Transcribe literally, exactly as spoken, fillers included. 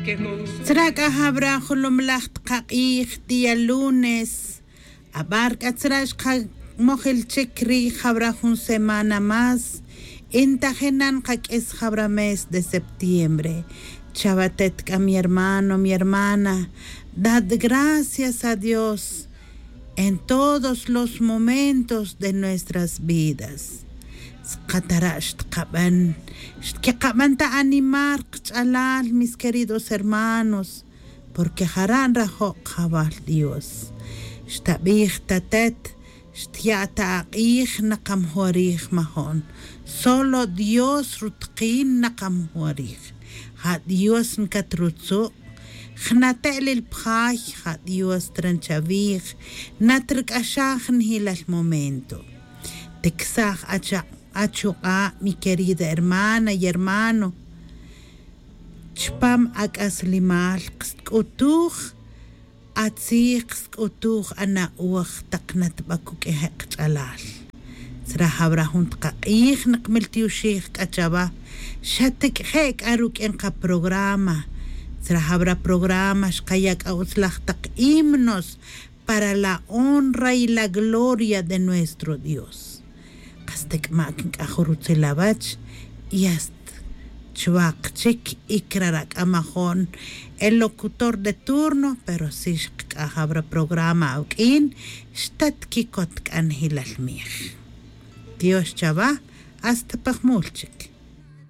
Tzra' c'a jawra' julumalaj takak'ij día lunes. Abar c'a tzra' xkamojil chic ri' jawra' jun semana más. Intajinan kaq'uis jawra' mes de septiembre. Chawatet c'a mi hermano mi hermana, dad gracias a dios en todos los momentos de nuestras vidas. Skatara' xtkaban xtkeqaban ta animar kach'alal mis queridos hermanos, porque jara' nrajo' kajawal dios. Xtabij tatet xtya' ta ak'ij nakamjorij majo'n. Solo dios rutakin nakamjorij. Ja' dios ncatrutzu'. Jnatelil pjay ja' dios tran chavij. Natrc'axaj njilal momento. Ticsaj achuk'a' mi querida hermana y hermano. Chpam ac'aslimal ksk'utuj atzij ksk'utuj ana'oj tak natbacuq'uije' kach'alal. Tzra jawra' jun takak'ij nakmiltioxij c'a chawa. Xatic'je' c'a ruq'uin kaprograma. Tzra jawra' programa xkaya' c'a utzlaj tak himnos para la honra y la gloria de nuestro dios. Kas ta c'ama' quinc'aj rutzil awech. Y hasta chwak chic y crara' c'a majo'n el locutor de turno pero si xkac'ajaw ra programa awuq'uin. Xtatquicot c'a njilal mij. Dios chawa. Hasta pa jmul chic.